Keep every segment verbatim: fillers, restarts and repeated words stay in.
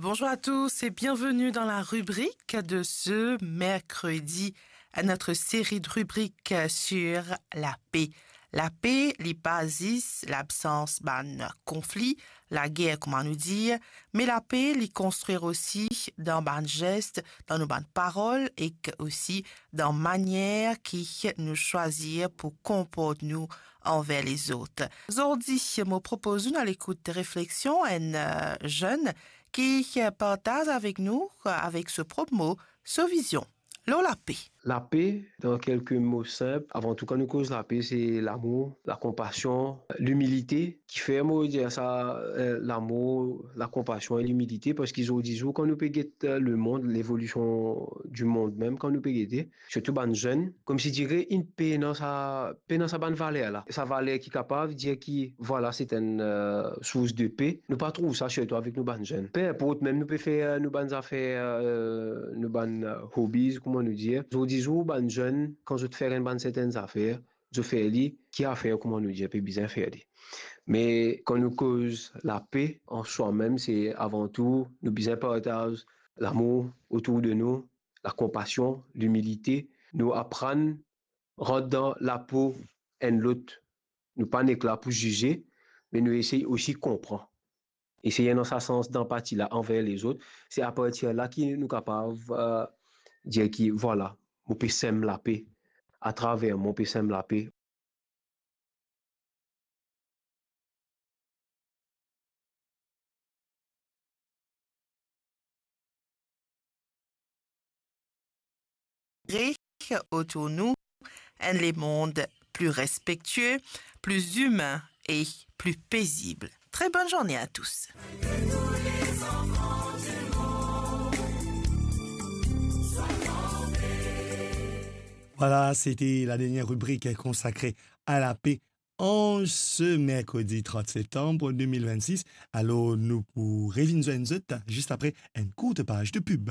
Bonjour à tous et bienvenue dans la rubrique de ce mercredi, à notre série de rubriques sur la paix. Lape, li pa zis labsans bann konfli, lager, kouma nou dir, me lape, li konstrir osi dan bann zes, dan nou bann parol ek osi dan manier ki nou swazir pou konport nou anver lezot. Zordi, mo propoz nou al ekout refleksion enn, eh, zenn ki partaz avek nou, avek so prop mo, so vizion lor lape. Lape, dan kelke mo sinp, avan tou, kan nou koz lape, se lamour, lakonpasion, limilite. Kifer mo dir sa, eh, lamour, lakonpasion e limilite? Parski zordi zour, kan nou pe get, eh, lemond, levolision dimond mem, kan nou pe gete, sirtou bann zenn, koumsi dire inn pena sa, pena sa bann valer la. Sa valer ki kapav dir ki, vwala, se enn, eh, sours de pe. Nou pa trouv sa, sirtou avek nou bann zenn. Pe inport, mem nou pe fer, eh, nou bann zafer, eh, nou bann, eh, hobbies, kouma nou dir. Zordi zour, bann zenn, kan zot fer enn bann sertenn zafer, zot fer li, ki afer, kouma nou dir, pe bizin fer li. Me kan nou koz lape, an swa mem, se avan tou, nou bizin partaz lamour otour de nou, lakonpasion, limilite, nou aprann rant dan lapo enn lot. Nou pa nek la pou zize, me nou esey osi konpran. Esey ena sa sans danpati la anver lezot. Se apartir la ki nou kapav, eh, dir ki, vwala, mo pe sem lape. Atraver mwa, mo pe sem lape. Kree otour nou enn lemond pli respektie, pli imin e pli pezib. Très bonne journée à tous. Vwala, sete la dernie ribrik konsakre a lape an se merkredi trant septanm de mil vennsis. Alor, nou pou revinn zwenn zot zis apre enn kourt paz de pib.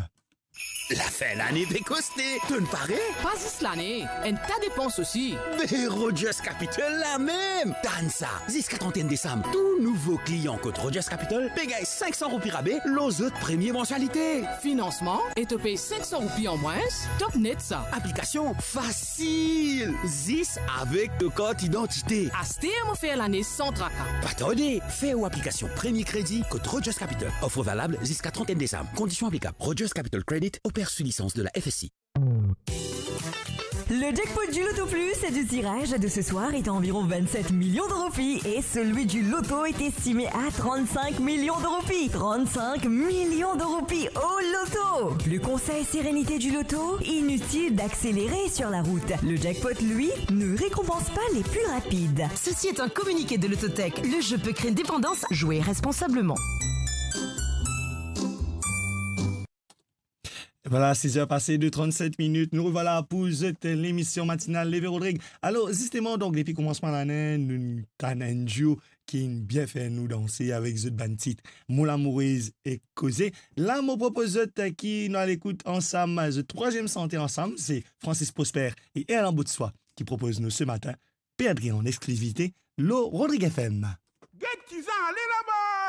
Lafin lane pe koste, to'nn pare? Pa zis lane, enn ta depans osi. Be Rogers Capital la mem! Tann sa, ziska trant et un desam, tou nouvo klian kot Rogers Capital pe gagn sink san roupi rabe lor zot premie mansialite. Finansman, e to pey sink san roupi an mwins, top net sa. Aplikasion fasil, zis avek to kart idantite. Aster mo fer lane san traka. Pa tarde, fer ou aplikasion Premie Kredi kot Rogers Capital. Offre valable jusqu'à trente et un décembre. Conditions applicables. Rogers Capital Credit opère sous licence de la F S I. Le jackpot du Loto Plus et du tirage de ce soir est à environ vingt-sept millions de roupies et celui du Loto est estimé à trente-cinq millions de roupies. Trente-cinq millions de roupies au Loto. Le conseil sérénité du Loto, inutile d'accélérer sur la route. Le jackpot, lui, ne récompense pas les plus rapides. Ceci est un communiqué de Lottotech. Le jeu peut créer une dépendance. Jouez responsablement. Vwala, siz er pase de trannset minit. Nou revwala pou zot lemision matinal Leve Rodrig. Alor, zisteman, donk, depi koumansman lane, nou tann enn duo ki bien fer nou danse avek zot bann tit Mon Lamourez ek Koze. La, mo propoz zot ki nou al ekout ansam zot trwaziem sante ansam, se Francis Prosper e Erlan Baudsoi ki propoz nou se matin, Perdre an exklisivite lor Rodrig F M. Get kiza ale laba!